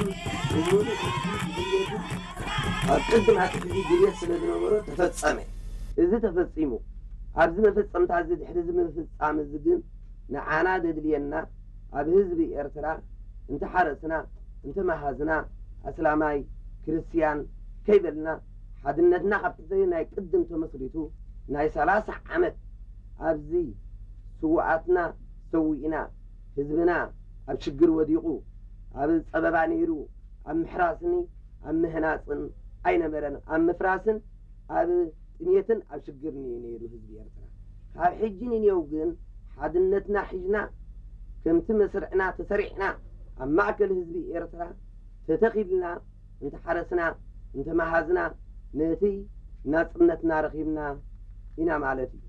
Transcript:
ብምሉእ ድልየቱ ኣብ ቅድም ኣቲ ሕዚ ድልየት ስለ ዝነበሮ ተፈጸመ። እዚ ተፈጺሙ። ኣብዚ መፈጸምታ እዚ ድሕሪ እዚ ምፍጻም እዚ ግን ንዓና ዘድልየና ኣብ ህዝቢ ኤርትራ እንተሓረስና እንተመሃዝና ኣስላማይ ክርስትያን ከይበልና ሓድነትና ካብቲ ናይ ቅድም ተመስሪቱ ናይ ሰላሳ ዓመት ኣብዚ ስውኣትና ሰዊእና ህዝብና ኣብ ሽግር ወዲቑ ኣብ ጸበባ ነይሩ ኣብ ምሕራስኒ ኣብ ምህናጽን ኣይነበረን ኣብ ምፍራስን ኣብ ጥሜትን ኣብ ሽግርን እዩ ነይሩ ህዝቢ ኤርትራ። ካብ ሕጂ ንኔው ግን ሓድነትና ሒዝና ከምቲ መስርዕና ተሰሪዕና ኣብ ማእከል ህዝቢ ኤርትራ ተተኺልና እንተሓረስና እንተመሃዝና ነቲ ናጽነትና ረኺብና ኢና ማለት እዩ።